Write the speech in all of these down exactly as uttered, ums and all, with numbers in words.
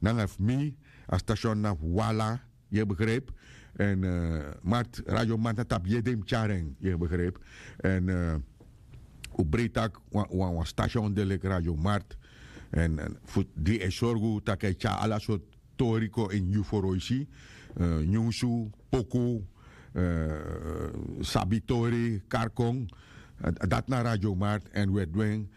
nanga fu mi, a station na fu wala, yu e begrijp. En markt, radio markt na tapu yede yu mus tyari en, yu e begrijp. En un breiti taki wan station de leki radio markt. En fu di e sorgu tak' a e tyari ala sortu tori kon ini yu foroisi, nyunsu, poku, sabi tori, karkon. Dati na radio markt. En un e du en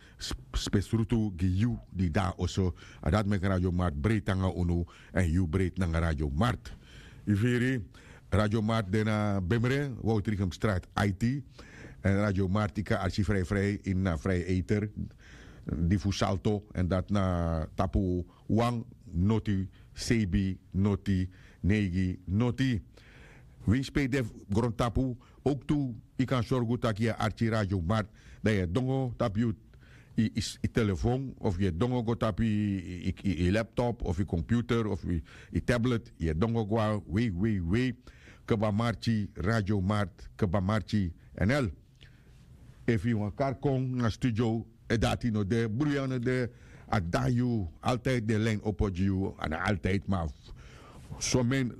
spesrutu gi yu di de na oso. A dati meki radio markt breiti nanga unu, en yu breiti nanga radio markt. Yu firi? Radio markt de na bemre, woutrigum strat, aiti. En radio markt yu kan arki frijfrij ini na vrij eter, di fu salto, en dati na tapu wan noti sebi noti neigi noti. Winsi pe yu de grontapu, owktu yu kan sorgu tak' yu e arki radio markt, dan yu e dongo tapu yu telefon, of yu e dongo go tapu yu laptop of yu computer of yu tablet, yu e dongo go na wei wei wei, kba marki radio markt, kba marki nl. Efu yu wan kari kon na studio, e dati no de, bruya no de, a de na yu. Altijdi den line opo gi yu, a no altijdi, ma somen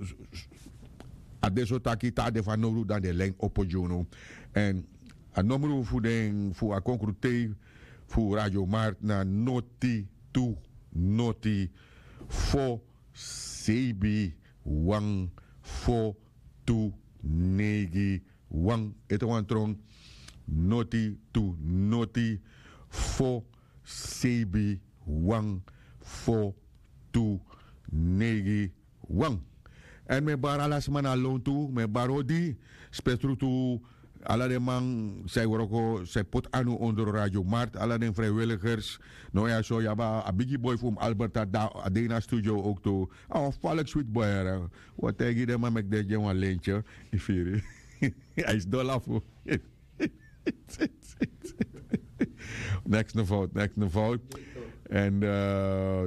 a de so taki te a de fanowdu dan den line opo gi unu. En a nomru fu den fu a konkrutei fu radio markt na noti tu noti fo sebi wan fo tu neigi wan. Ete wan tron. Noti tu noti fo sebi wan fo tu neigi wan. En mi e bari ala sma na lontu, mi e bari odi spesrutu ala den man san e wroko, san e poti anu ondro radio markt, ala den vrijwilligers. No ya so yu abi a bigi boi fu mi Albert a de na studio owktu. A wan falek switi boi. Wi o taigi den man meki den gi en wan lentye. Yu firi? A e sidon lafu. Neks no fout, neks no fout. En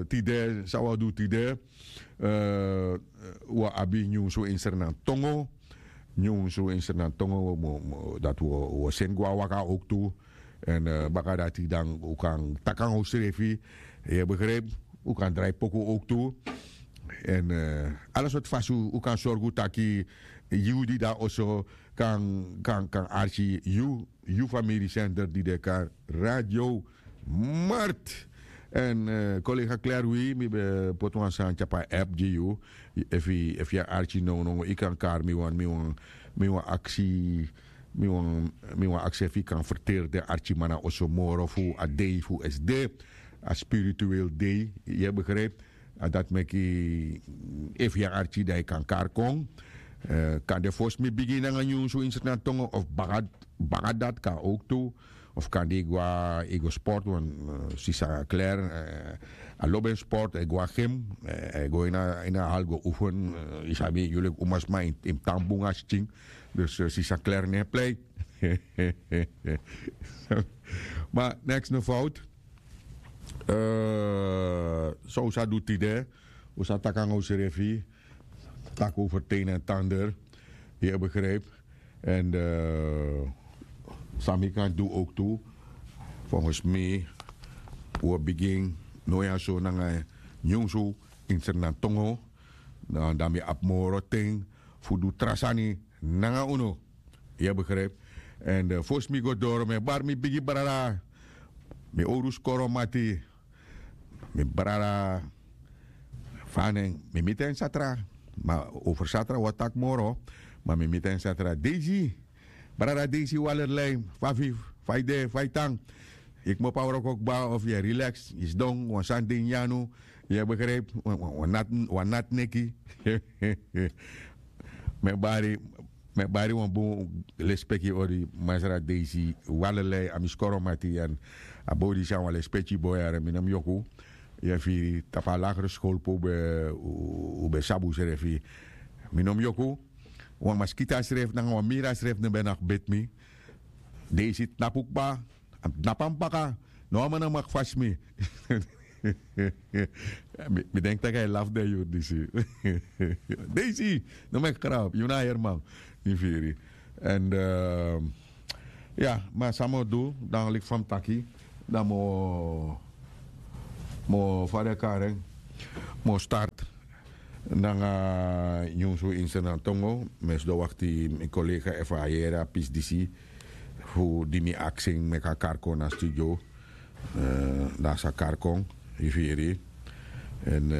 tide san wi o du tide? Wi o abi nyunsu insernan tongo. Nyunsu insernan tongo, dati wi o seni go na waka owktu. En baka dati dan un kan taki nanga unsrefi. Yu e begrijp? Un kan drai poku owktu. En ala sortu fasi un kan sorgu taki yu di de na oso kan kan kan arki yu yu famiri sender di de kan radio markt. En kolega klerwi mi ben poti wan sani tapu a app gi yu. Efu yu e arki nownow yu kan kari mi wan mi wan mi wan aksi mi wan mi wan aksi efu yu kan ferteri den arkiman na oso moro fu a dei fu sd, a spirituel dei. Yu e begrijp? A dati meki efu yu e arki dan yu kan kari kon. Kan de fosi mi bigin nanga nyunsu insernan tongo of baka dati kan owktu. Of kan de yu go na yu go sport wan sisa kler a lobi en sport a e go na gym. A e go ini a hal go ufen. Yu sabi yu leki umasma yu mus tan bun na skin. Dus sisa kler no e plei. Ma neks no fout. San un sa du tide? Un sa taki nanga unsrefi, taki over ten en tander. Yu e begrijp? En san mi kan du owktu, volgens mi wi o bigin no ya so nanga nyunsu insernan tongo. Dan mi abi moro ten fu du tra sani nanga unu. Yu e begrijp? En fosi mi go doro mi e bari mi bigi brada, mi owru skoro mati, mi brada. Fa a nen? Mi miti en satra. Ma over satra wi o taki moro. Ma mi miti en satra. Deisi, brada Deisi Walerlei, fa fu yu? Fa yu de? Fa yu tan? Yu kmopo na wroko kba of yu e relax, yu sidon wan sani de ini yu anu? Yu e begrijp? Wan nati neki. Mi e bari mi e bari wan bun lespeki ori masra Deisi Walerlei, a mi skoro mati. A bodi san wan lespeki boi yara mi no mus yoku. Yu e firi tapu a lagere skol pe un ben sabi unsrefi. Mi no mus yoku. Wan maskita srefi nanga wan mira srefi no ben naki beti mi. Deisi tnapu kba. A mus tnapu a mus baka. No wan man no maki fasi mi. Mi denki tak' a e lafu den yuru disi. Deisi, no meki krabu yu na a heri man. Yu firi? Èn ya, ma san mi o du dan leki fa mi taki, dan mi o mi o fa den kari en. Mi o start nanga nyunsu insernan tongo. Mi e sidon wakti mi kolega efu a yere a pisi disi fu di mi aksi en meki a kari kon na studio. Dan a sa kari kon, yu firi. Èn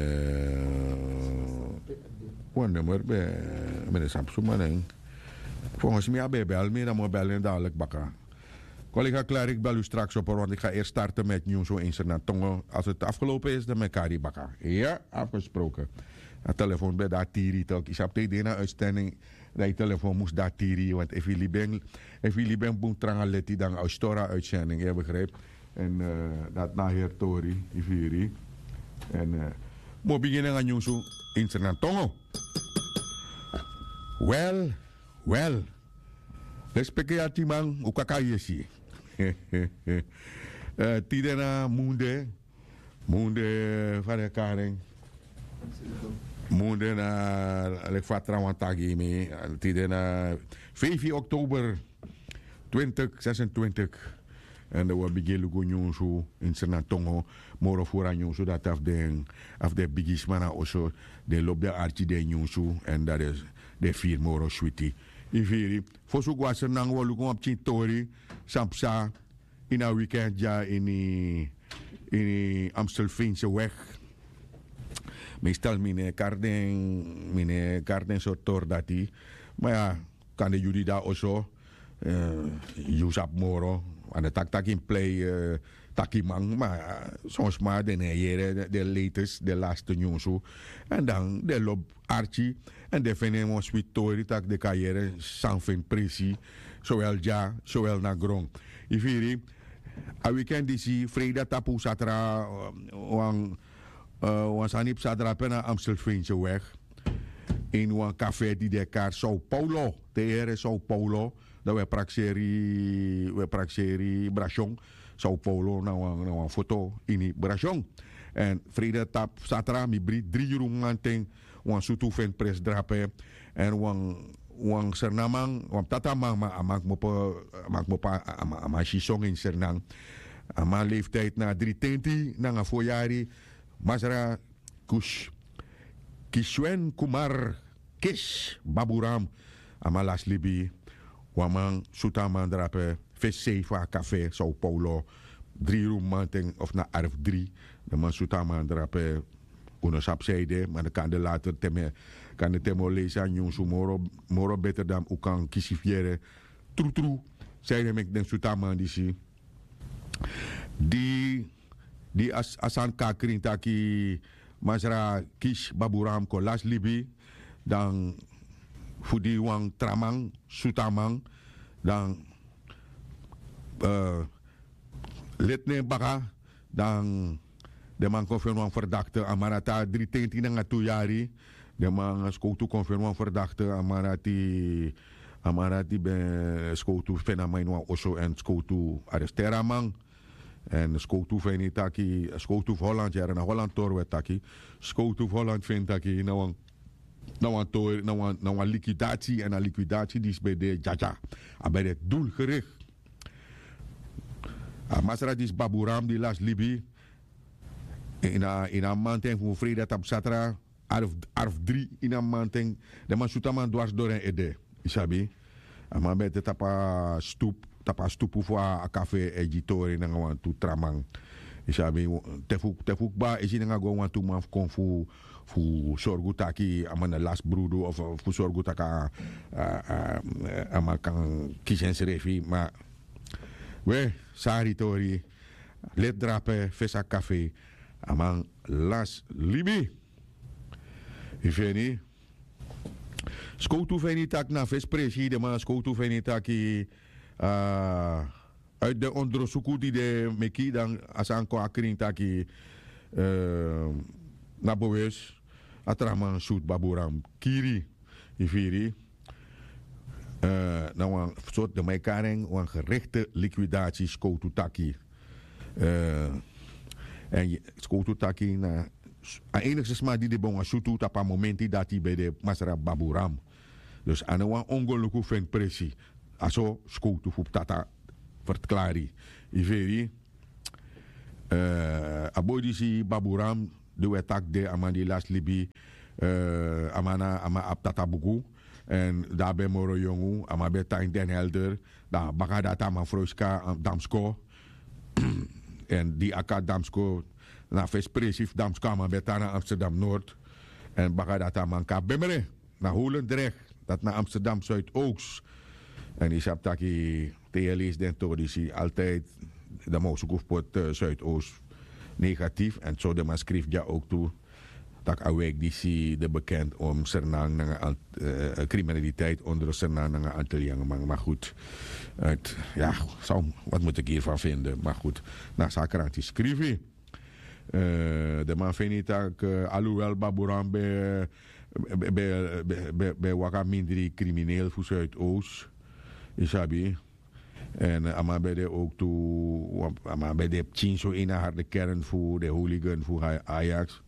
wan nummer ben mi no sabi suma na en. Fongos mi a ben e bel mi dan mi o bel en dadilik baka. Kolega Klarik bel u straks op, want ik ga eerst starten met nyunsu insernan tongo. Als het afgelopen is dan mi e kari baka. Ya, afgesproken. A telefoon ben dati tiri tok yu sabi te yu de na uitstending. Dan yu telefoon mus dati tiri want efu yu libi en bun tranga leti dan a o stori a uitstending yu e begrijp. Èn dati na a heri tori, yu firi. Èn mi o bigin nanga nyunsu insernan tongo. Wel, wel. Respeki yu atiman un kaka yesi. Tide na munde. Munde fa den e kari en. Munde na leki fa trawan taki gi mi. Tide na feifi oktober, twintig sesentwintig. Èn dan wi o bigin luku nyunsu insernan tongo. Moro furu a nyunsu dati a fu den bigisma na oso. Den lobi den arki den nyunsu èn dan den firi moro switi. Yu firi. Fosi un go na sernan wi o luku wan pikin tori san psa ini a wikend dya ini amstelfense weg. Meestal mi no e kari den mi no e kari den sortu tori dati. Ma ya, kande yu di de na oso, yu sabi moro. A no taki tak' yu mus plei takiman ma son sma den no e yere den letes den laste nyunsu. Èn dan den lobi arki èn den feni en wan switi tori tak' den kan yere san feni presi, sowel dya sowel na gron. Yu firi. A wikend disi freida tapu satra wan wan sani psa drape na amstelfense weg ini wan kafe di den e kari sao paulo. Te yu here sao paulo dan wi e prakseri wi e prakseri brasion. Sao paulo na wan foto ini brasion. Èn freida tapu satra mi bri dri yuru mamanten wan sutu feni presi drape. Èn wan wan sernaman wan ptataman ma a man kmopo a man kmopo a man si songo ini sernan. A man leeftiydi na dri tenti nanga fo yari. Masra kus kiswen kumar kis baburam. A man lasi libi. Wan man sutu a man drape fesi sei fu a kafe sao paulo. Dri yuru mamanten of na arfu dri. Den man sutu a man drape. Un no sabi san ede ma den kande later te mi e kande te mi o leisi a nyunsu moro beter dan un kan kisi fu yere trutru. San ede meki den sutu a man disi di di a sani kon na krin taki masra kisi baburam kon lasi libi. Dan fu di wan tra man sutu a man dan leti na en baka. Dan den man kon feni wan ferdakte a man dati a dri tenti nanga tu yari. Den man skowtu kon feni wan ferdakte a man dati a man dati ben skowtu feni a man ini wan oso èn skowtu aresteri a man. Èn skowtu feni taki skowtu fu holland yara na holland tori wi e taki. Skowtu fu holland feni taki na wan na wan tori na wan likwidati èn a likwidati disi ben de dyadya. A ben de dulgerikti. A masra disi baburam di lasi libi ini a mamanten fu freida tapu satra. Arfu dri ini a mamanten. Den man sutu a man dwarsi dori en ede. Yu sabi. A man ben de tapu a stupu fu a kafe e gi tori nanga wantu tra man. Yu sabi. Te fu kba esi nanga go wantu man fu kon fu fu sorgu taki a man na lasi brudu of fu sorgu taki a man kan kisi ensrefi ma we sari tori. Leti drape fesi a kafe a man lasi libi. Yu feni. Skowtu feni taki na fesi presi den man skowtu feni taki a uit den ondrosuku di den meki dan a sani kon a krin taki na bewes a tra man sutu baburam kiri. Yu firi. Na wan sortu den man e kari en wan gerekte likwidati skowtu taki. Èn skowtu taki na a enigste sma di de ben wan sutu tapu a momenti dati ben de masra baburam. Dus a no wan ongeluku fu en presi. A so skowtu fu ptata fertklari. Yu feri. A boi disi baburam di un e taki de a man di lasi libi, a man na a man abi tata buku. Èn di a ben moro yongu a man ben tan ini den helder. Dan baka dati a man froiska damsko. Èn di a kon na damsko, na a fesi presi fu damsko a man ben tan na amsterdam nord. Èn baka dati a man kon na bemre, na holendrecht, dati na amsterdam zuidoost. Èn yu sabi taki te yu e leisi den tori disi altijdi, dan man o suku fu poti zuidoost negatief. Èn so den man skrifi dya ouk tu, tak' a wijk disi de bekend om sernang nanga kriminaliteit onder sernang nanga antilliangeman. Ma goed, ya, wat moet ik hiervan vinden? Ma goed, na sakranti skrifi. Den man feni tak' aluwel baburan ben ben waka mindri krimineel fu zuidoost, yu sabi. Èn a man ben de ouk tu, a man ben de pikin so ini a harde kern fu den hooligan fu ajax.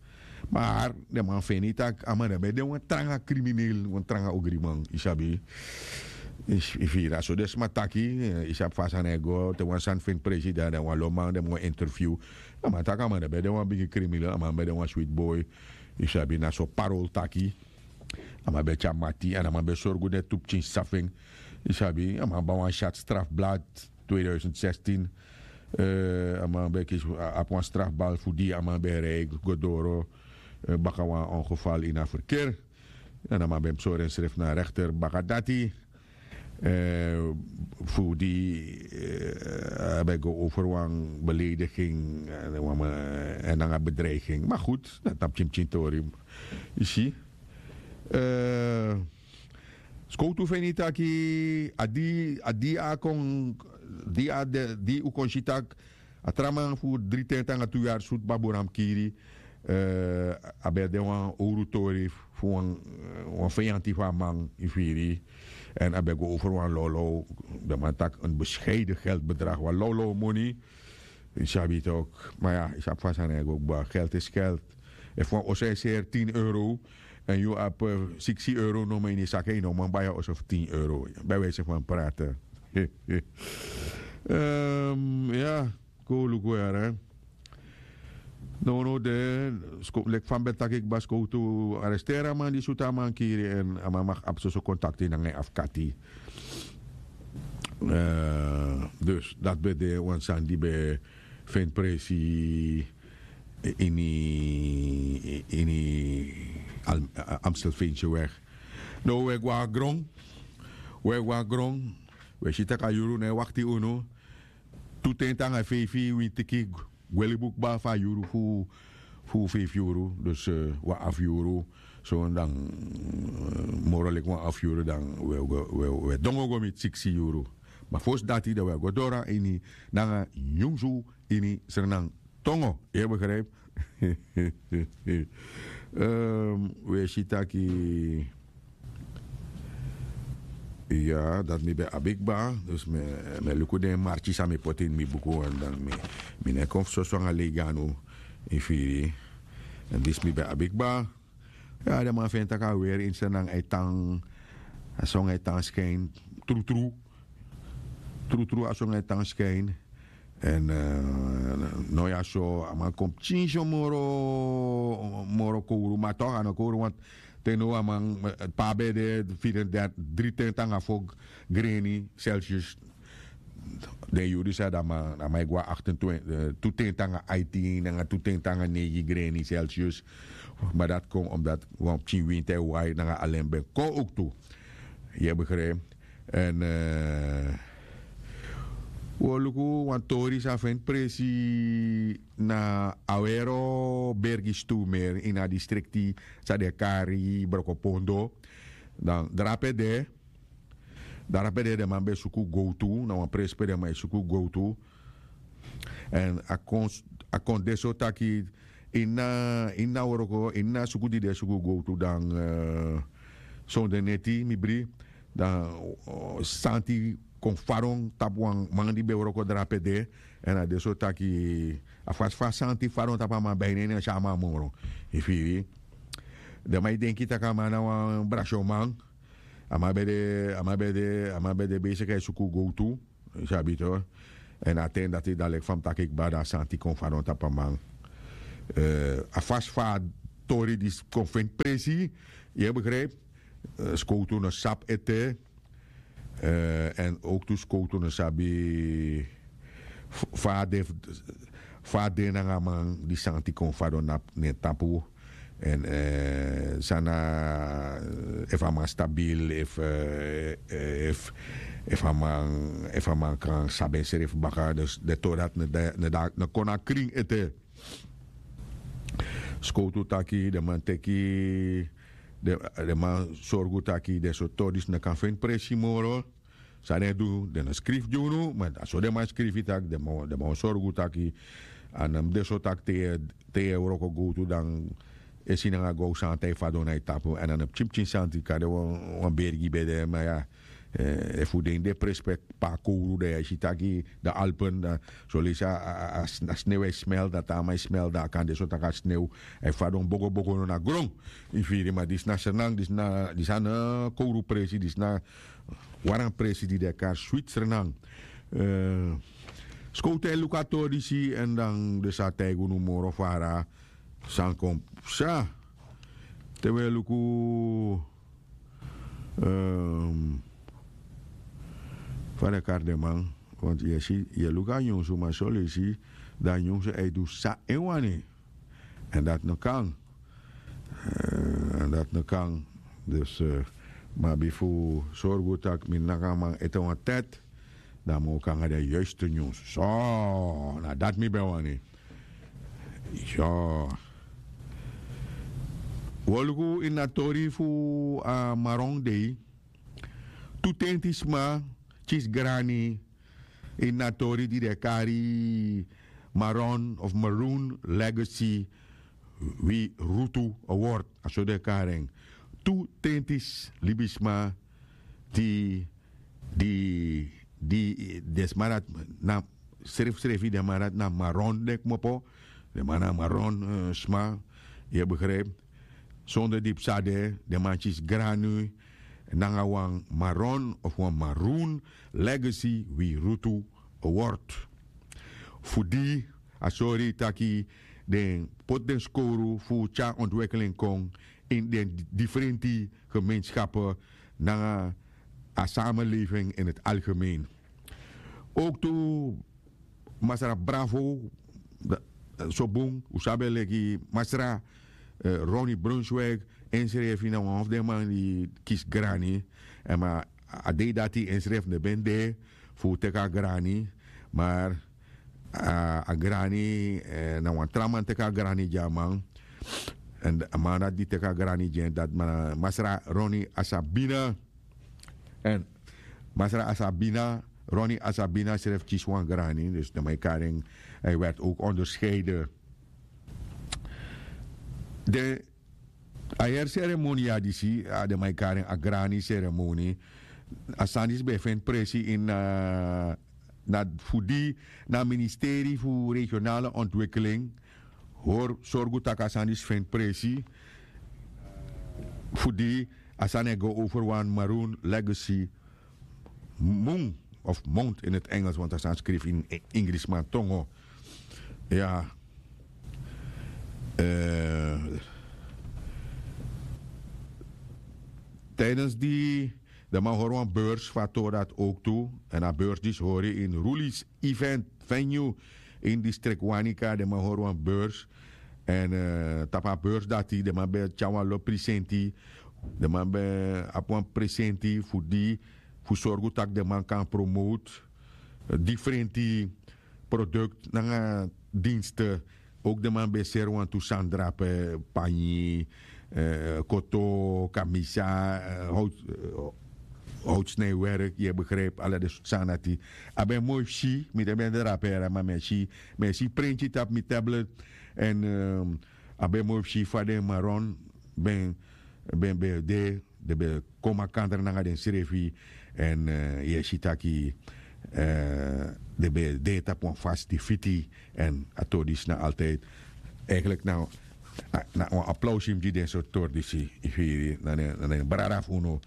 Maar den man feni tak' a man na ben de wan tranga krimineel, wan tranga ogriman, yu sabi. Yu firi a so den sma taki, yu sabi fa a sani e go te wan sani feni presi dan den wan lo man den man o interview. A man taki a man na ben de wan bigi krimineel, a man ben de wan switi boi. Yu sabi na so parol taki. A man ben tyari mati èn a man ben sorgu den tu pikin sisa fu en. Yu sabi a man ban wan syat strafblad. Tweeduizend zestien. A man ben kisi abi wan strafbal fu di a man ben rij go doro baka wan ongeval ini a ferker. Èn a man ben mus sori ensrefi na a rekter baka dati. Fu di a ben go over wan belediging èn nanga bedreiging ma goed dati na pikin pikin tori. Yu si. Skowtu feni taki a di a kon di a di un kon si tak' a tra man fu dri ten tanga tu yari sutu baburam kiri. A ben de wan owru tori fu wan feyanti fu a man yu firi. Èn a ben go over wan lawlaw. Den man taki en bescheiden geldbedrag wan lawlaw moni. Yu sabi tok'. Ma ya yu sabi fa sani e go kba geld is geld. Efu wan oso e seri tin euro èn yu abi siksi euro nomo ini yu saka yu no man bai a oso fu tin euro. Bijwijse fan prate. Ya. Kon luku yara. Nownow de leki fa mi ben taki kba skowtu aresteri a man di sutu a man kiri èn a man maki abi soso kontakti nanga en afkati. Dus dati ben de wan sani di ben feni presi ini ini amstelfeenseweg. Now we gwa gron we gwa gron. We si tak' a yuru no e wakti unu. Tu ten tanga feifi wintiki gweli bukba fu a yuru fu fu feifi yuru. Dus wan afu yuru. So dan moro leki wan afu yuru dan we dongo go miti siksi yuru. Ma fosi dati dan we go doro na ini nanga nyunsu ini srenan tongo. Yu e begrijpi? We si taki ya dati mi ben abi kba. Dus mi e luku den marki san mi poti ini mi buku wan dan mi no e kon fu soso nanga leiganu. Yu firi? Èn disi mi ben abi kba. Ya den man feni tak' a weri ini srenan e tan. A songu e tan skin. Trutru. Trutru a songu e tan skin. Èn no ya so a man kon pikin so moro moro kowru ma tok' a no kowru want te no a man pe a ben de firi en derti dri ten tanga fo greni celsius. Den yuru disi a dan man a man e gwa aktentwenti tu ten tanga aitin nanga tu ten tanga neigi greni celsius. Ma dati kon omdati wan pikin winti e wai nanga alen ben kon owktu. Yu e begrijpi? Èn wi o luku wan tori san feni presi na awero bergi stumer ini a distrikti san den e kari brokopondo. Dan drape de drape de den man ben e suku gowtu na wan presi pe den man e suku gowtu. Èn a kon de so taki ini na ini na wroko ini na suku di den e suku gowtu dan sonde neti mi bri dan santi kon faron tapu wan man di ben wroko drape de. Èn a de so taki a fasi fa santi faron tapu a man ben a ini en no e si a man moro. Yu firi? Den man e denki tak' a man na wan brasyoman. A man ben de a man ben de a man ben de beisiki e suku gowtu. Yu sabi to. Èn a ten dati dan leki fa mi taki kba dan a santi kon faron tapu a man. A fasi fa a tori disi kon feni presi, yu e begripi. Skowtu no sabi ete. Èn owktu skowtu no sabi fa a de nanga a man di santi kon fadon na en tapu. Èn san na, efu a man stabil efu efu a man efu a man kan sabi ensrefi baka dus den tori dati no kon na krin ete. Skowtu taki den man teki den man sorgu taki den sortu tori disi no kan feni presi moro. San den e du den no skrifi gi unu ma a so den man skrifi tak' den man o sorgu taki a no mus de so tak' te yu e wroko gowtu dan e si nanga gowsanti a e fadon na yu tapu èn a no pikinpikin santi kari wan beri gi ben de ma ya. Efu den de prespek pe a kowru dan yu e si taki dan alpen dan solesi a snew e smel dan te a man e smel dan a kan de so tak' a snew a e fadon bogobogo no na gron. Yu firi ma disi na sernang disi na disi a no kowru presi disi na waran presi di den e kari switi sernang. Skowtu e luku a tori disi èn dan den sa taigi unu moro fara san kon psa. Te wi e luku fa den kari den man. Want yu e si yu e luku a nyunsu ma solesi dan a nyunsu e du san en wani. Èn dati no kan. Èn dati no kan. Dus mi abi fu sorgu tak' mi nanga a man ete wan tèt dan mi o kon nanga den yuiste nyunsu so. Na dati mi ben wani. Yu o luku ini a tori fu a maron dei. Tu tenti sma kisi grani ini a tori di den e kari maron of maroon legacy wi rutu award. A so den e kari en. Tu tenti libisma di di di den sma dati na srefsrefi den man dati na maron den kmopo. Den man na maron sma. Yu e begripi. Sonder di psa de den man kisi granu nanga wan maron of wan maroon legacy wi rutu award. Fu di a sori taki den poti den skowru fu tyari ontwikkeling kon ini den diferenti gemeenskapen nanga a samenleving in het algemeen. Ook tu masra bravo so bun un sabi en leki masra ronnie brunswig ensrefi na wan fu den man di kisi grani. Èn ma a dei dati ensrefi no ben de fu teki a grani. Mar a grani na wan tra man teki a grani gi a man. Èn a man dati di teki a grani gi en dati man na masra ronnie asabina. Èn masra asabina ronnie asabina srefi kisi wan grani dus den man e kari en. Hij werd ook onderscheiden. Den a heri seremonia disi a den man e kari en a grani seremoni. A sani disi ben e feni presi ini na fu di na ministeri fu regionale ontwikkeling hori sorgu tak' a sani disi feni presi. Fu di a sani e go over wan maroon legacy mun of mount in het engels want a sani skrifi ini ingrisman tongo. Ya. Tijdens di den man hori wan beurs fu a tori dati ook tu. Èn a beurs disi hori ini rulis event venue ini distrik wanika den man hori wan beurs. Èn tapu a beurs dati den man ben tyari wan lo prisenti. Den man ben abi wan prisenti fu di fu sorgu tak' den man kan promote diferenti produkt nanga dienste. Ook den man ben seri wantu sani drape panyi, koto, kamisa, houtsnijwerk yu e begripi ala den sortu sani dati. A ben moi fu si mi de ben drape yara ma mi e si mi e si prenti tapu mi tablet. Èn a ben moi fu si fa den maron ben ben ben de den ben kon makandra nanga densrefi. Èn yu e si taki den ben de tapu wan fasi di fiti. Èn a tori disi na altijdi eigenlik na wan aplausi mus gi den sortu tori disi. Yu firi na den brada fu unu.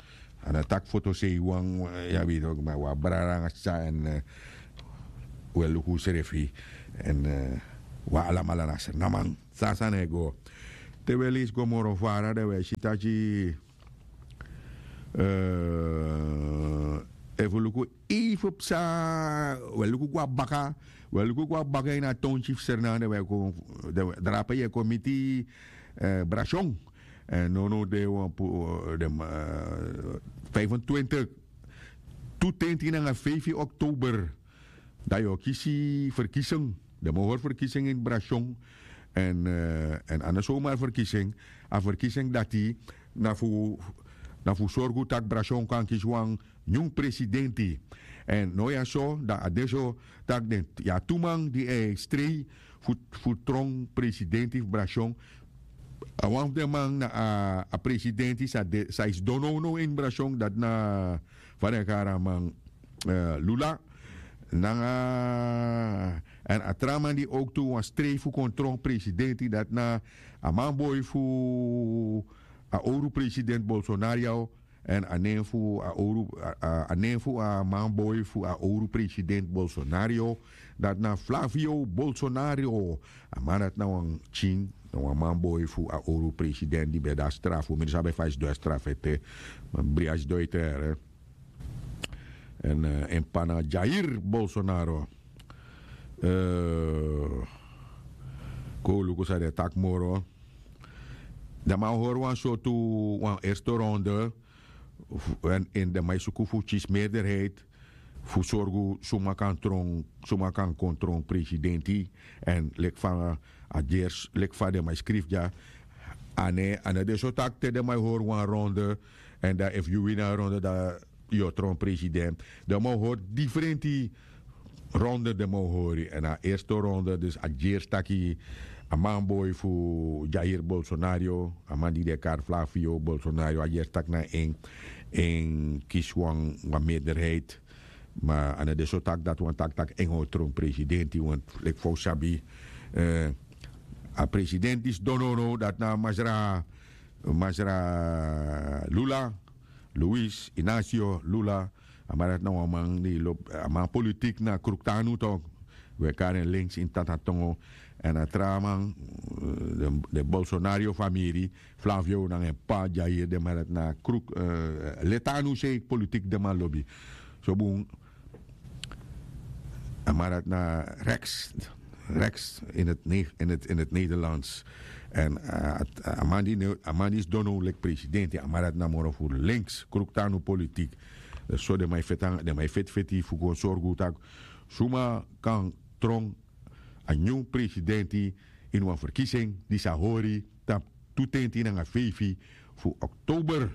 A no taki fotosei wan yu abi yu toki ma wan brada nanga sisa èn un e luku unsrefi. Èn Wi alamala na srnaman. San a sani e go. Te wi e leisi go moro fara dan wi e si taki, efu luku, efu psa, wi e luku go na baka. Wi e luku go na baka ini a tonti fu srnaman dan wi e kon drape yu e kon miti, brasion. Èn nownow de wan pu den, vijfentwintig, tu tenti nanga feifi oktober, dan yu o kisi ferkising. Den man o hori ferkising ini brasion. Èn a no somari ferkising. A ferkising dati na fu na fu sorgu tak' brasion kan kisi wan nyun presidenti. Èn now ya so dan a de so tak' den ya tu man di e strei fu tron presidenti fu brasion. A wan fu den man na a presidenti san e sidon nownow ini brasion dati na fa den e kari a man, lula nanga èn a tra man di owktu wani strei fu kon tron presidenti dati na a manboi fu a owru presidenti bolsonario. Èn a nen fu a owru a nen fu a manboi fu a owru presidenti bolsonario, dati na flavio bolsonario. A man dati na wan pikin, na wan manboi fu a owru presidenti di ben de na strafu mi no sabi efu a sidon na strafu ete. Ma bri a sidon ete. Èn en p'pa na jair bolsonaro. Kon un luku san den e taki moro. Dan man hori wan sortu wan erste ronde. Èn den man e suku fu kisi meerderheid fu sorgu suma kan tron suma kan kon tron presidenti. Èn leki fa a ders leki fa den man e skrifi dya. A no de so tak' te den man e hori wan ronde èn dan efu yu wini a ronde dan yu o tron president. Den man o hori difrenti ronde den man o hori èn a erste ronde dus a gersi taki a manboi fu jair bolsonario, a man di den e kari flavio bolsonario a gersi taki na en en kisi wan wan meerderheid. Ma a no de so taki dati wani taki tak' en o tron presidenti want leki fa un sabi a presidenti sidon nownow dati na masra masra lula, luis inacio lula. A man dati na wan man di lobi a man politik na kruktanu tok'. Wi e kari en links ini tatatongo. Èn a tra man den bolsonario famiri flavio nanga en p'pa dyair den man dati na kruk letanu sei politik den man lobi. So bun. A man dati na rex rex in het nederlands. Èn a man di sidon now leki presidenti a man dati na moro fu links kruktanu politik. So den man e feti anga den man e feti feti fu kon sorgu tak' suma kan tron a nyun presidenti ini wan ferkising di sa hori tapu tu tenti nanga feifi fu oktober.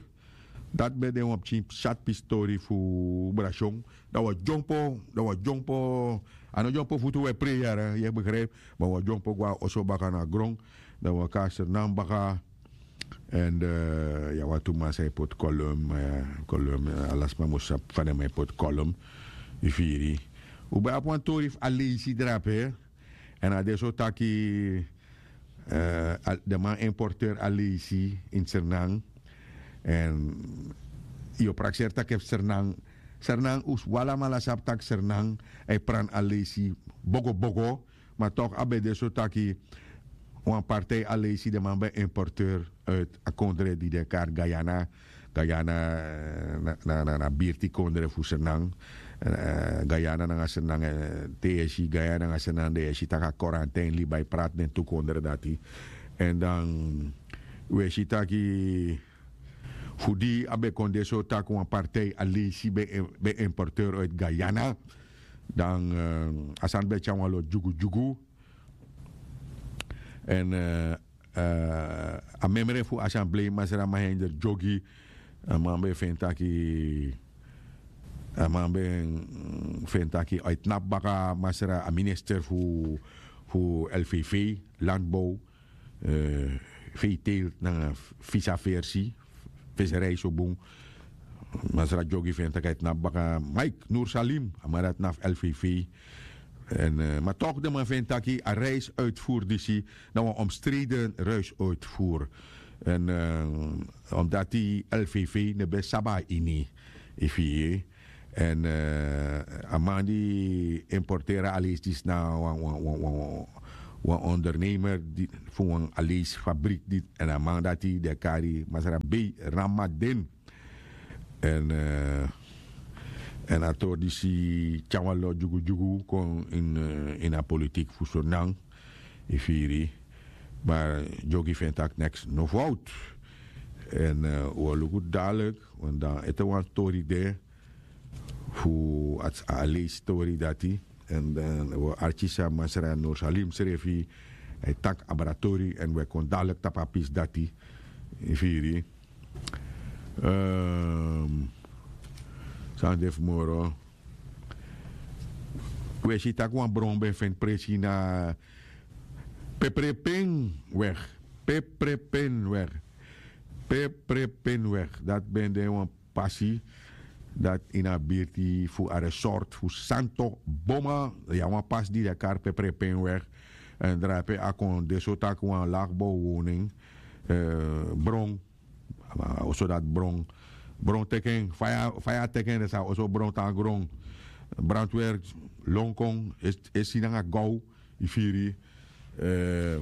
Dati ben de wan pikin sati pistori fu brasion. Dan wi o dyompo dan wi o dyompo a no dyompo futu wi e prei yara yu e begrijpi. Ma wi o dyompo go na oso baka na gron dan wi o kon na sernan baka. Èn ya wan tu man san e poti kolum. Kolum ala sma mus sabi fa den man e poti kolum. Yu firi. Un ben abi wan tori fu aleisi drape. Èn a de so taki den man importeur aleisi ini sernan. Èn yu o prakseri taki efu sernan sernan un alamala sabi taki sernan e pran aleisi bogobogo. Ma tok' a ben de so taki wan partij aleisi den man ben importeur uit a kondre di den kari guyana. Guyana na birti kondre fu sernan. Guyana nanga sernan te yu e si guyana nanga sernan den e si tak' a korantin libi a e prati den tu kondre dati. Èn dan wi e si taki fu di a ben kon de so tak' wan partij aleisi ben importeur uit guyana. Dan a sani ben tyari wan lo dyugudyugu. Èn a memre fu asamblei masra mahinder dyogi. A man ben feni taki a man ben feni taki a e tnapu baka masra a minister fu fu lvv landbow. Vetel nanga visa versi. Viserij so bun. Masra dyogi feni taki a e tnapu baka mike nursalim a man dati na fu lvv. Èn ma tok' den man feni taki a reis uitvoer disi na wan omstreden reis uitvoer. Èn omdati lvv no ben sabi a ini. Efu yu yee. Èn a man di importeri a aleisi disi na wan wan wan wan wan ondernemer fu wan aleisi fabrik di, èn a man dati den e kari masra bei ramaden. Èn èn a tori disi tyari wan lo dyugudyugu kon ini a politik fu surnan. Yu firi? Ma dyoki fu en taki neks no fowtu. Èn wi o luku dadilik, want dan ete wan tori de fu a aleisi tori dati. Èn dan wi o arki san masra nursalim srefi e taki abra tori èn wi e kon dadilik tapu a pisi dati. Yu firi? San de fu moro? Wi e si tak' wan bron ben feni presi na peprepenweg. Peprepenweg. Peprepenweg, dati ben de wan pasi dati ini a birti fu a resort fu santo boma. Ya, wan pasi di den e kari peprepenweg. Èn drape a kon de so tak' wan lagbow woning, bron. A oso dati bron. Bron teki en, faya teki en, den sa oso bron tan gron. Brantwerk lon kon e si nanga gow, yu firi,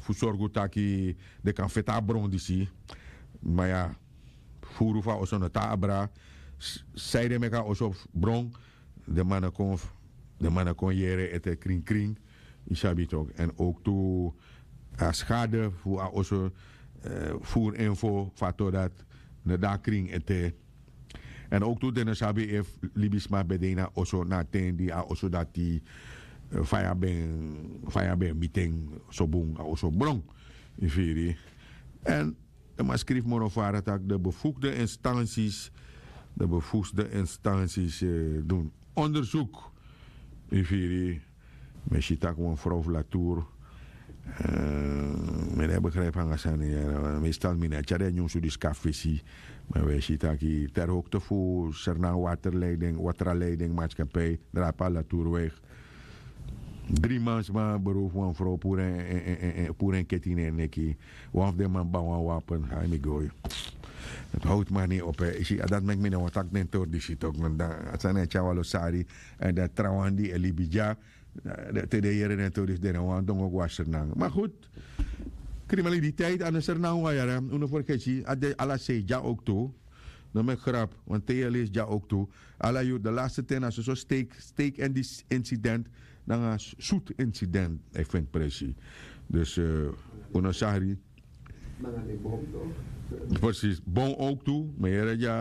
fu sorgu taki den kan feti a bron disi. Ma ya, furu fu a oso no tan abra. San ede meki a oso bron? Den man no kon yere ete krinkrin. Yu sabi toki. Èn owktu a skade fu a oso, furu info fu a tori dati no de a krin ete. Èn owktu den no sabi efu libisma ben de ini a oso na a ten di a oso dati faya ben miti en. So bun a oso bron. Yu firi? Èn den man skrifi moro fara tak' den befukde instansis den befukde instansis dun ondersuk. Yu firi? Mi e si tak' wan frow fu latour. Mi no e begripi nanga sani ya. Meestal mi no e tyari den nyunsu disi kon na fesi. Ma wi e si tak' te na hokte fu sernan waterleiding waterleiding matskapei drape a latourweg. Dri man sma berow fu wan frow puru en keti ini en neki. Wan fu den man ban wan wapen. Ai mi goi. Dati howtu man no e opo. Yu si, a dati meki mi no wani taki den tori disi toki. A sani e tyari wan lo sari. Èn den trawan di e libi dya, te den yere den tori disi den no wani dongo go na sernan. Ma gudu, kriminaliteit a no sernan wawan yara. Un no fergeti a de ala sei dya owktu. No meki grapu. Wan te yu e leisi dya owktu, ala yuru de laste ten na soso steik incident nanga sutu incident e feni presi. Dus un no sari. Presis, bom owktu. Mi e yere dya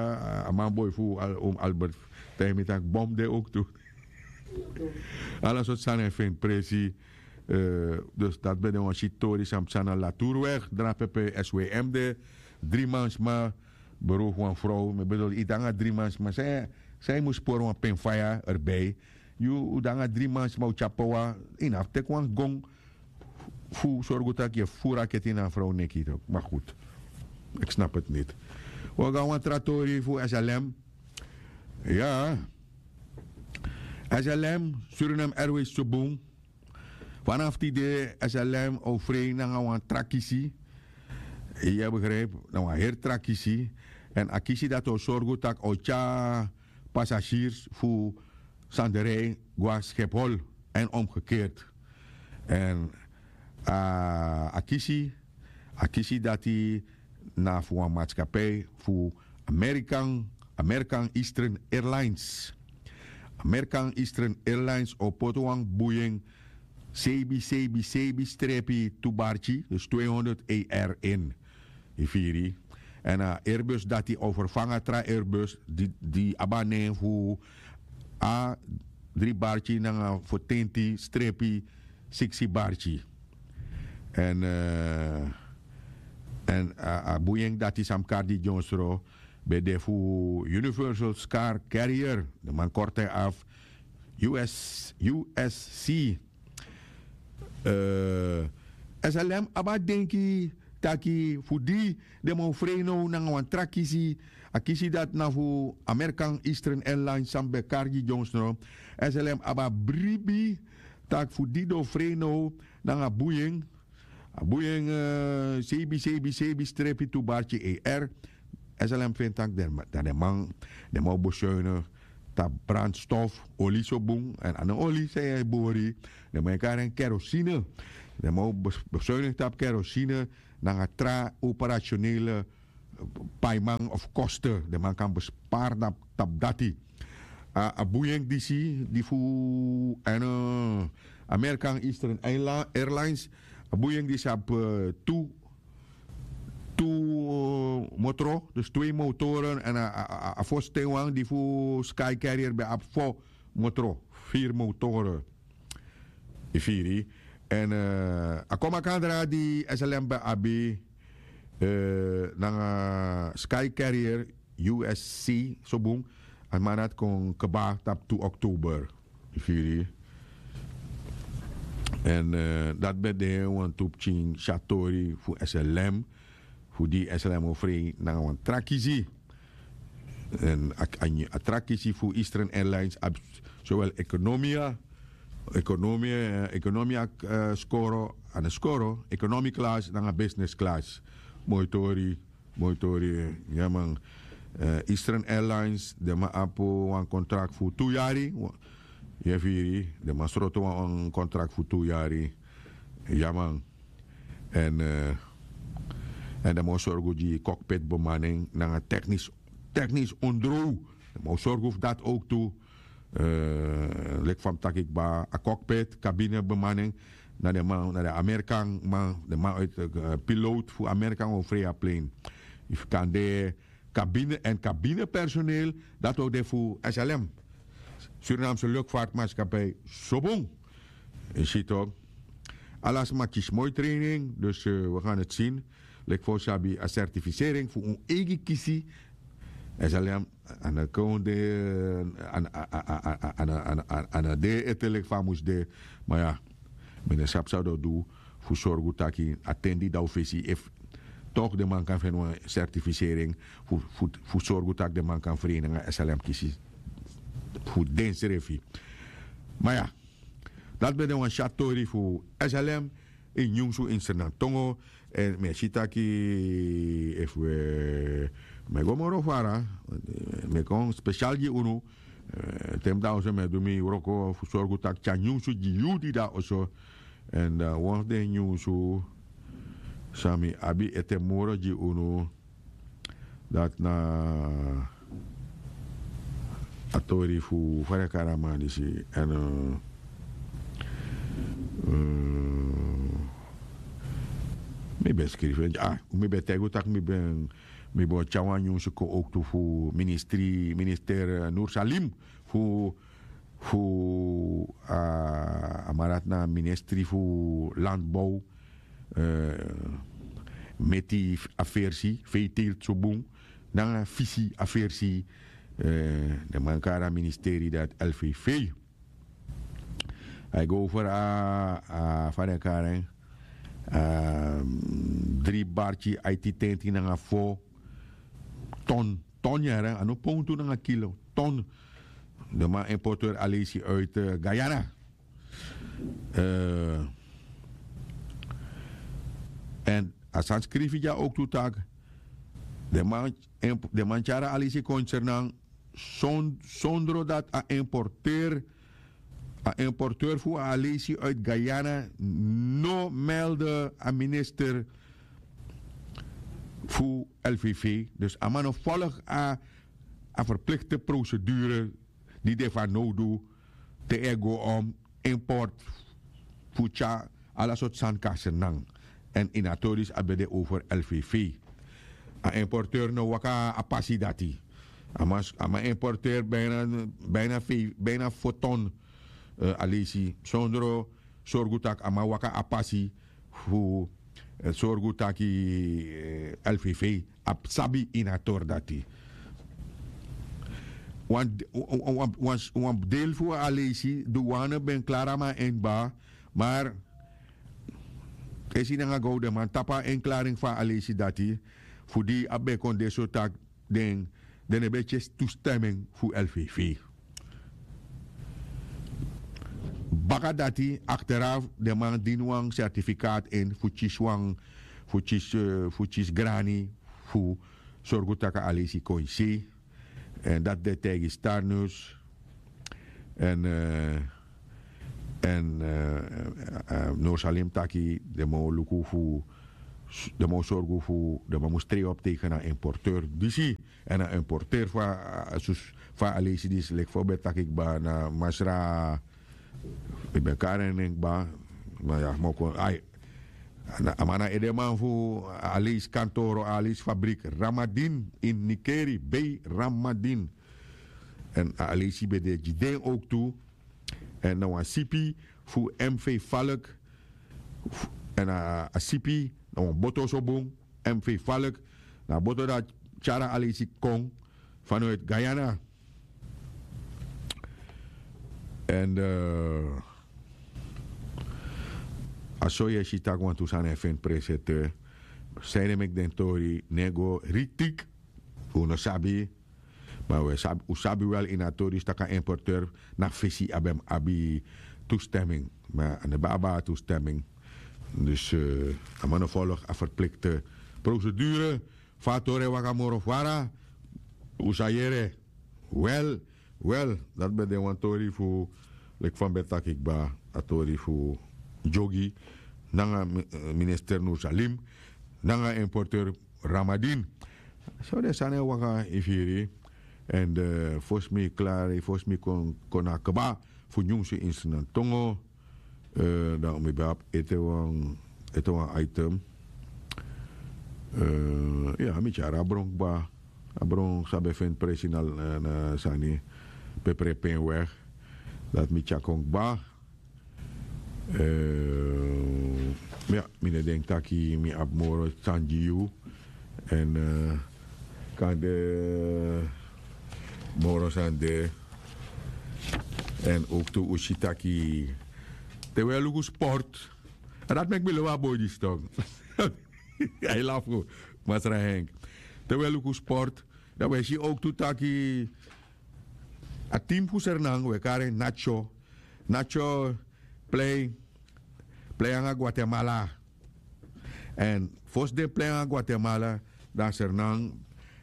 a manboi fu albert taigi mi tak' bom de owktu. Ala sortu sani e feni presi. Dus dati ben de wan siti tori san psa na latourweg drape pe swm de. Dri man sma berow fu wan frow. Mi bedoel yu de nanga dri man sma, san yu mus pori wan pen faya erbei. Yu de nanga dri man sma o tyari powa. Yu no abi teki wan gon fu sorgu tak' yu e furu a keti ini a frow neki. Ma gudu, ik snap eti niti. Wi o go na wan tra tori fu slm. Ya. Slm, suriname airways so bun. Fanafu tide slm o frei nanga wan tra kisi. Yu e begripi? Na wan heri tra kisi. Èn a kisi dati o sorgu tak' a o tyari pasasirs fu sanderei go na schiphol èn omgekeerd. Èn a kisi a kisi dati na fu wan matskapei fu american american eastern airlines. American eastern airlines o poti wan buyen seibi seibi seibi strepi tu barki dus tweehonderd ar in. Yu firi? Èn a airbus dati o ferfanga tra airbus di abi a nen fu a dri barki nanga fotenti strepi siksi barki. Èn a buying dati san mus kari di dyonsro ben de fu universal scar carrier. Den man korte afu usc. Slm abi a denki taki fu di den man o frei now nanga wan tra kisi. A kisi dati na fu american eastern airlines san ben kari gi dyonsro. Slm abi a bribi tak' fu di den o frei now nanga buying. A buying seibi seibi seibi strepi tu barki ar. Slm feni tak' dan den man den man o besuine tapu brandstof, oli so bun, èn a no oli san yu e bori. Den man e kari en kerosine. Den man o besuinigi tapu kerosine nanga tra operasionele paiman of koste. Den man kan bespari tapu dati. A buying disi di fu èn american eastern airlines, a buying disi abi tu tu motro, dus twee motoren en a fosten wan di fu sky carrier ben abi fo motro, vier motoren. Yu firi? En a komakandra di slm ben abi nanga sky carrier usc so bun, a man dati kon kba tapu tu oktober. Yu firi? En dati ben de wantu pikin syatori fu slm, fu di slm o frei nanga wan tra kisi. En a tra kisi fu eastern airlines abi sowel ekonomia, ekonomia, ekonomia skoro, a no skoro, economy class nanga business class. Moi tori. Moi tori. Ya man. Eastern airlines, den man abi wan kontrak fu tu yari. Yu e firi? Den man sroto wan kontrak fu tu yari. Ya man. En den man o sorgu gi cockpit bemaning nanga teknis, teknis ondrow. Den man o sorgu fu dati owk tu. Leki fa mi taki kba, a cockpit, kabine bemaning, na den man, na den amerikan man, den man uit, piloot fu amerikan o frei a plein. Yu fu kan de kabine en kabine personeel, dati o de fu slm, Surinaamse luchtvaartmaatschappij. So bun. Yu si tok. Ala sma kisi moi training, dus we gan het sin. Leki fa un sabi, a certificering fu un eigi kisi. Slm a no kon de, a no de ete leki fa a mus de. Ma ya, mi no sabi san den o du fu sorgu taki a ten di dan un fesi efu tok den man kan feni wan certificering fu sorgu tak' den man kan frei nanga slm kisi fu densrefi. Ma ya, dati ben de wan syatu tori fu slm ini nyunsu ini sernantongo. Èn mi e si taki efu we mi e go moro fara, mi e kon spesial gi unu. Te mi de na oso mi e du mi wroko fu sorgu tak' tyari nyunsu gi yu di de na oso. Èn dan wan fu den nyunsu san mi abi ete moro gi unu, dati na a tori fu fa den e kari a man disi. Èn mi ben skrifi en, mi ben taigi un tak' mi ben mi ben o tyari wan nyunsu kon owktu fu ministri minister nursalim fu fu a man dati na ministri fu landbow, meti a versi veeteelt so bun nanga fisi a versi. Den man kari a ministeri dati lvv. A e go over a fa den kari en, dri barki aiti tenti nanga fo ton ton yara a no pontu nanga kilo ton. De man importeur alesi uit guyana. En a san skrifi dya ook tu tak de man tyara alesi kon sernan sondro dat a importeur a importeur fu a alesi uit guyana no melde a minister fu lvv. Dus a man no volg a a verplichte procedure di de fanowdu te e go om import fu tyari ala sortu sani kon na sernan. Èn ini a tori disi a ben de over lvv. A importeur no waka a pasi dati. A man importeur bijna bijna fo ton. Alesi sondro sorgu tak' a man waka a pasi fu sorgu taki lvv abi sabi ini a tori dati. Wan wan deel fu a alesi duwane ben klari a man en kba. Mar esi nanga gowdeman tapu a enklaring fu a alesi dati fu di a ben kon de so tak' den den no ben tyesi tusteming fu lvv. Baka dati akteraf den man dini wan sertifikaat ini fu kisi wan fu kisi grani fu sorgu tak' a alesi kon ini sei. Èn dati den taigi starnus Èn èn no salim taki den man o luku fu den man o sorgu fu den man mus trei op tegen a importeur disi. Èn a importeur fu a sus fu a leisi disi leki fu a ben taki kba na masra. Mi ben kari en nen kba. Ma ya mi o kon ai a man na edeman fu a leisi kantoro a leisi fabrik ramadin in nikeri bei ramadin. Èn a aleisi ben de gi den owktu. Èn na wan sipi fu m v falk. Èn a sipi na wan boto so bun. M v falk na a boto dati tyari a aleisi kon fanoiti guyana. Èn a so yu e si tak' wantu sani e feni presi ete. San ede meki den tori no e go riktik. Un no sabi. Ma un sabi wel ini a tori disi tak' a importeur na fesi a ben mus abi tusteming. Ma a no ben abi a tusteming. Dus a man no folg a verplikte procedure. Fa a tori e waka moro fara. Un sa yere. Wel wel, dati ben de wan tori fu leki fa mi ben taki kba a tori fu dyogi nanga minister nursalim nanga importeur ramadin. So den sani e waka yu firi. Èn fosi mi klari fosi mi kon kon na kba fu nyunsu instrument tongo. Dan mi ben abi ete wan ete wan item. Ya mi tyari a bron kba. A bron san ben feni presi na sani pepre pen weg. Dati mi tyari kon kba. Ya mi no e denki taki mi abi moro sani gi yu. Èn kande moro sani de. Èn owktu un si taki te un e luku sport. A dati meki mi lobi a boi disi tok. A e lafu masra henk. Te un e luku sport dan un e si owktu taki a tim fu sernan un e kari en natyo. Natyo plei plei nanga guatemala. Èn fosi den plei nanga guatemala dan sernan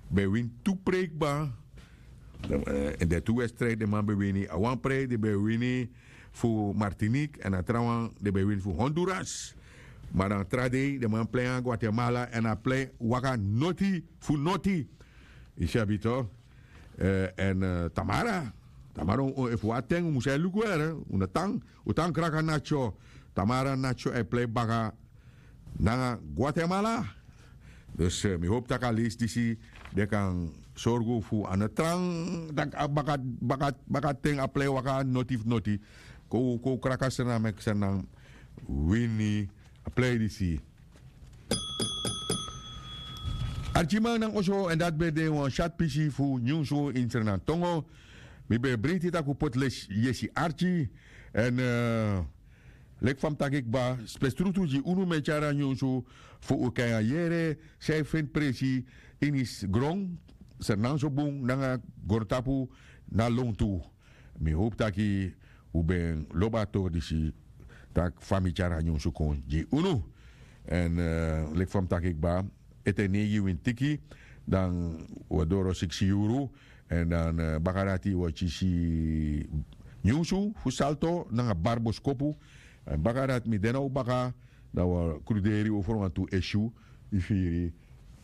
ben wini tu prei kba. Èn den tu wedstrijd den man ben wini a wan prei den ben wini fu martinik èn a trawan den ben wini fu honduras. Ma dan tra dei den man plei nanga guatemala èn a plei waka noti fu noti. Yu sabi to. Èn tamara tamara efu wan ten un mus e luku ere un no tan un tan kraka natyo. Tamara natyo e plei baka nanga guatemala. Dus mi hopu tak' a leisi disi den kan sorgu fu a no tran tak' a baka baka baka ten a plei waka noti fu noti. Kon un kon un kraka srnan meki srnan wini a plei disi. Arkiman nanga oso èn dati ben de wan syatu pisi fu nyunsu ini srnan tongo. Mi ben e breiti tak' un poti lesi yesi arki. Èn leki fa mi taki kba spestrutu gi unu mi e tyari a nyunsu fu un kan yere san e feni presi ini gron srnan so bun nanga grontapu na lontu. Mi hopu taki un ben lobi a tori disi tak' fa mi tyari a nyunsu kon gi unu. Èn leki fa mi taki kba ete neigi wini tiki dan un e doro siksi yuru. Èn dan baka dati un e kisi nyunsu fu salto nanga bari boskopu. Èn baka dati mi de na un baka dan un e kruderi un ferwantu esiu. Yu firi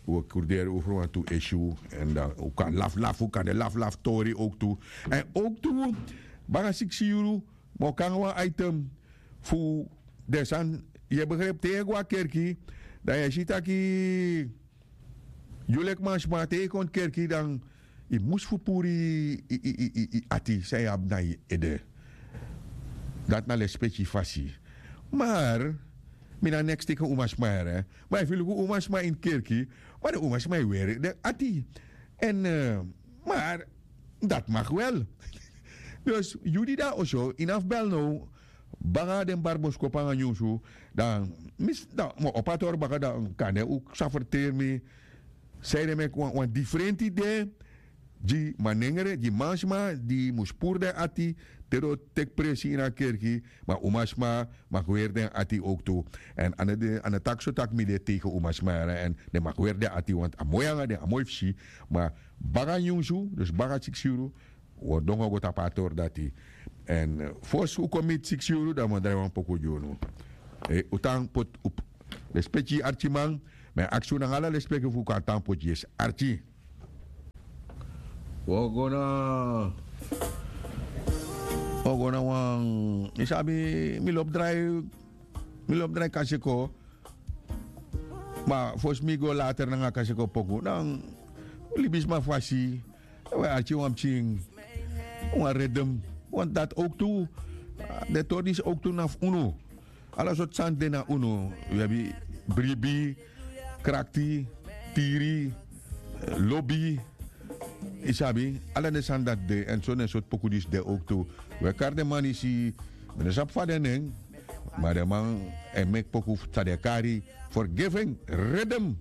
un e kruderi un ferwantu esiu. Èn dan un kan laflafu kan de laflafu tori owktu. Èn owktu baka siksi yuru mi o kon nanga wan item fu den sani. Yu e begripi te yu e go na kerki dan yu e si taki yu leki mansma te yu kon kerki dan yu mus fu puru yu ati san yu abi na yu ede. Dati na lespeki fasi. Mar mi na neks teki umasma yere. Ma efu yu luku umasma ini kerki ma den umasma e weri den ati. Èn mar dati maki wel. Dus yu di de na oso ini a fu bel now baka den bari boskopu nanga nyunsu. Dan mi si dan mi o opo a tori baka dan kande un sa ferteri mi san ede meki wan diferenti de gi manengre gi mansma di mus puru den ati te den o teki presi ini a kerki. Ma umasma maki weri den ati owktu. Èn a no taki so tak' mi de tegen umasma yara èn den maki weri den ati wantu a moi nanga den a moi fu si. Ma baka nyunsu dus baka siksi yuru un o dongo go tapu a tori dati. Èn fosi un kon miti siksi yuru dan mi o drai wan poku gi unu. Un tan poti un, lespeki yu arkiman. Mi e aksi unu nanga ala lespeki fu un kon a tan poti yesi arki. Un o go na un o go na wan, yu sabi, mi lobi drai mi lobi drai kaseko. Ma fosi mi go later nanga kaseko poku dan libisma fasi. We arki wan pikin wan redem. Want dati owktu den tori disi owktu na fu unu. Ala sortu sani de na unu. Wi abi bribi, krakti, tiri, lobi. Yu sabi, ala den sani dati de èn so den sortu poku disi de owktu. We kari den man disi, mi no sabi fa den nen. Ma den man e meki poku san den e kari forgiving, redem.